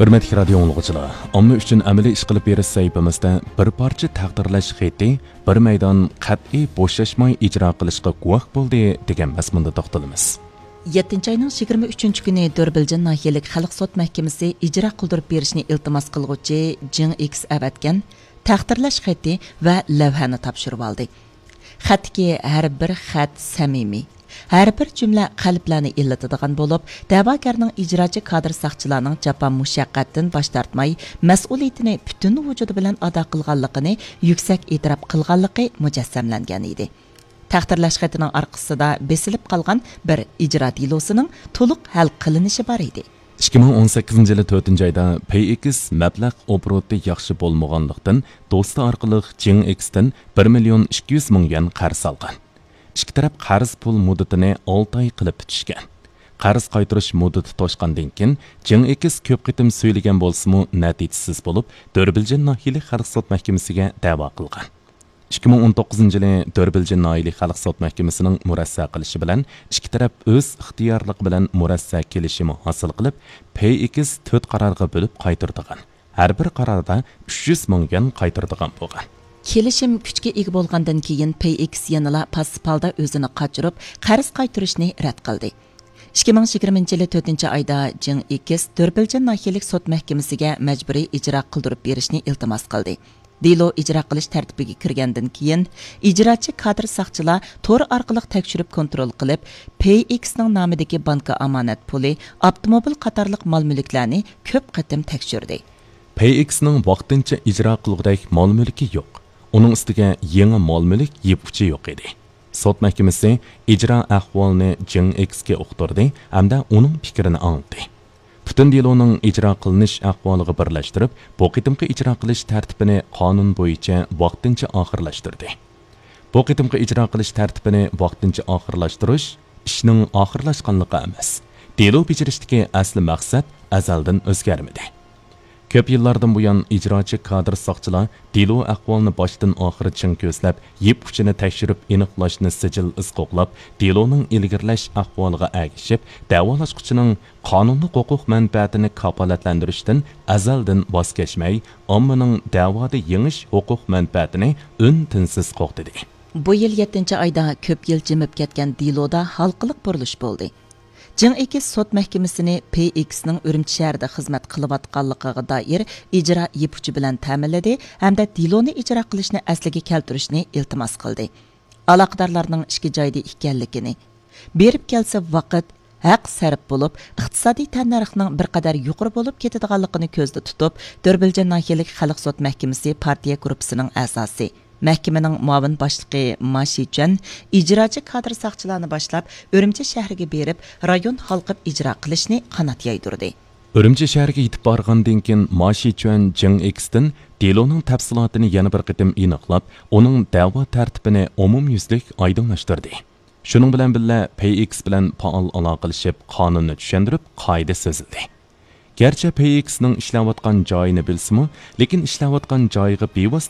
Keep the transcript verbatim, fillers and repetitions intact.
ھۆرمەتلىك رادىيو ئاڭلىغۇچىلار، ئامما ئۈچۈن ئەمەلىي ئىش قىلىپ بېرىش سەھىپىمىزدە بىر پارچە تەقدىرلەش خېتى بىر مەيدان قەتئىي بوشاشماي ئىجرا قىلىشقا گۇۋاھ بولدى دېگەن مەزمۇندا توختىلىمىز. يەتتىنچى ئاينىڭ يىگىرمە ئۈچىنچى كۈنى دۆربىلجىن ناھىيەلىك خەلق سوت مەھكىمىسى ئىجرا قىلدۇرۇپ بېرىشنى ئىلتىماس قىلغۇچى جېڭ ئېكس ئەۋەتكەن تەقدىرلەش خېتى ۋە لەۋھەنى تاپشۇرۇۋالدى. خەتتىكى ھەر بىر خەت سەمىمىي، ھەر بىر جۈملە قەلبلەرنى ئىللىتىدىغان بولۇپ، دەۋاگەرنىڭ ئىجراچى كادىر ساقچىلارنىڭ جاپا مۇشەققەتتىن باش تارتماي، مەسئۇلىيىتىنى پۈتۈن ۋۇجۇدى بىلەن ئادا قىلغانلىقىنى يۈكسەك ئېتىراپ قىلغانلىقى مۇجەسسەملەنگەن ئىدى. تەقدىرلەش خېتىنىڭ ئارقىسىدا بېسىلىپ قالغان بىر ئىجرا دېلوسىنىڭ تولۇق ھەل قىلىنىشى بار ئىدى. ئىككى مىڭ ئون سەككىزىنچى يىلى تۆتىنچى ئايدا پەي ئېكس مەبلەغ ئوبوروتى ياخشى بولمىغانلىقتىن، دوستى ئارقىلىق جېڭ ئېكستىن بىر مىليون ئىككى يۈز مىڭ يۈەن قەرز ئالغان. ئىككى تەرەپ قەرز پۇل مۇددىتىنى ئالتە ئاي قىلىپ پۈتۈشكەن. قەرز قايتۇرۇش مۇددىتى توشقاندىن كېيىن، جېڭ ئېكس كۆپ قېتىم سۈيلىگەن بولسىمۇ، نەتىجىسىز بولۇپ، دۆربىلجىن ناھىيەلىك خەلق سوت مەھكىمىسىگە دەۋا قىلغان. ئىككى مىڭ ئون توققۇزىنچى يىلى دۆربىلجىن ناھىيەلىك خەلق سوت مەھكىمىسىنىڭ مۇرەسسە قىلىشى بىلەن، ئىككى تەرەپ ئۆز ئىختىيارلىقى بىلەن مۇرەسسە كېلىشىمى ھاسىل قىلىپ، پەي ئېكس تۆت قارارغا بۆلۈپ قايتۇرىدىغان، ھەر بىر قاراردا ئۈچ يۈز مىڭ يۈەن قايتۇرىدىغان بولغان. كېلىشىم كۈچكە ئىگە بولغاندىن كېيىن، پەي ئېكس يەنىلا پاسسىپ ھالدا ئۆزىنى قاچۇرۇپ، قەرز قايتۇرۇشنى رەت قىلدى. ئىككى مىڭ يىگىرمىنچى يىلى تۆتىنچى ئايدا جېڭ ئېكس دۆربىلجىن ناھىيەلىك سوت مەھكىمىسىگە مەجبۇرىي ئىجرا قىلدۇرۇپ بېرىشنى ئىلتىماس قىلدى. دېلو ئىجرا قىلىش تەرتىپىگە كىرگەندىن كېيىن، ئىجراچى كادىر ساقچىلار تور ئارقىلىق تەكشۈرۈپ كونترول قىلىپ، پەي ئېكسنىڭ نامىدىكى بانكا ئامانەت پۇلى، ئاپتوموبىل قاتارلىق مال مۈلۈكلەرنى كۆپ قېتىم تەكشۈردى. پەي ئېكسنىڭ ۋاقتىنچە ئىجرا قىلغۇدەك مال مۈلكى يوق. ئۇنىڭ ئۈستىگە يېڭى مال مۈلۈك يىپ ئۇچى يوق ئىدى. سوت مەھكىمىسى ئىجرا ئەھۋالىنى جېڭ ئېكسكە ئۇقتۇردى ھەمدە ئۇنىڭ پىكرىنى ئاڭلىدى. پۈتۈن دېلونىڭ ئىجرا قىلىنىش ئەھۋالىغا بىرلەشتۈرۈپ، بۇ قېتىمقى ئىجرا قىلىش تەرتىپىنى قانۇن بويىچە ۋاقتىنچە ئاخىرلاشتۇردى. بۇ قېتىمقى ئىجرا قىلىش تەرتىپىنى ۋاقتىنچە ئاخىرلاشتۇرۇش ئىشنىڭ ئاخىرلاشقانلىقى ئەمەس. دېلو بېجىرىشتىكى ئەسلى مەقسەت ئەزەلدىن ئۆزگەرمىدى. كۆپ يىللاردىن بۇيان ئىجراچى كادىر ساقچىلار دېلو ئەھۋالىنى باشتىن ئاخىر چىڭ كۆزلەپ، يىپ ئۇچىنى تەكشۈرۈپ ئېنىقلاشنى سىجىل ئىز قوغلاپ، دېلونىڭ ئىلگىرىلەش ئەھۋالىغا ئەگىشىپ، دەۋالاشقۇچىنىڭ قانۇنلۇق ھوقۇق مەنپەئەتىنى كاپالەتلەندۈرۈشتىن ئەزەلدىن ۋاز كەچمەي، ئاممىنىڭ دەۋادا يېڭىش ھوقۇق مەنپەئەتىنى ئۈن-تىنسىز قوغدىدى. بۇ يىل يەتتىنچى ئايدا كۆپ يىل جىمىپ كەتكەن دېلودا ھالقىلىق بۇرۇلۇش بولدى. جېڭ ئېكس سوت مەھكىمىسىنى پېي ئېكسنىڭ ئۈرۈمچى شەھىرىدە خىزمەت قىلىۋاتقانلىقىغا دائىر ئىجرا يىپ ئۇچى بىلەن تەمىنلىدى ھەمدە دېلونى ئىجرا قىلىشنى ئەسلىگە كەلتۈرۈشنى ئىلتىماس قىلدى. ئالاقىدارلارنىڭ ئىككى جايدا ئىكەنلىكىنى، بېرىپ كەلسە ۋاقىت، ھەق سەرپ بولۇپ، ئىقتىسادىي تەننەرخنىڭ بىر قەدەر يۇقىرى بولۇپ كېتىدىغانلىقىنى كۆزدە تۇتۇپ، دۆربىلجان ناھىيەلىك خەلق سوت مەھكىمىسى پارتىيە گۇرۇپپىسىنىڭ ئەزاسى، مەھكىمىنىڭ مۇئاۋىن باشلىقى ما شىچۈەن ئىجراچى كادىر ساقچىلارنى باشلاپ، ئۈرۈمچى شەھىرىگە بېرىپ، رايون ھالقىپ ئىجرا قىلىشنى قانات يايدۇردى. ئۈرۈمچى شەھىرىگە يېتىپ بارغاندىن كېيىن، ما شىچۈەن جېڭ ئېكستىن دېلونىڭ تەپسىلاتىنى يەنە بىر قېتىم ئېنىقلاپ، ئۇنىڭ دەۋا تەرتىپىنى ئومۇميۈزلۈك ئايدىڭلاشتۇردى. شۇنىڭ بىلەن بىللە، پېي ئېكس بىلەن پائال ئالاقىلىشىپ، قانۇننى چۈشەندۈرۈپ، قائىدە سۆزلىدى. گەرچە پېي ئېكسنىڭ ئىشلەۋاتقان جايىنى بىلسىمۇ، لېكىن ئىشلەۋاتقان جايىغا بىۋاسىتە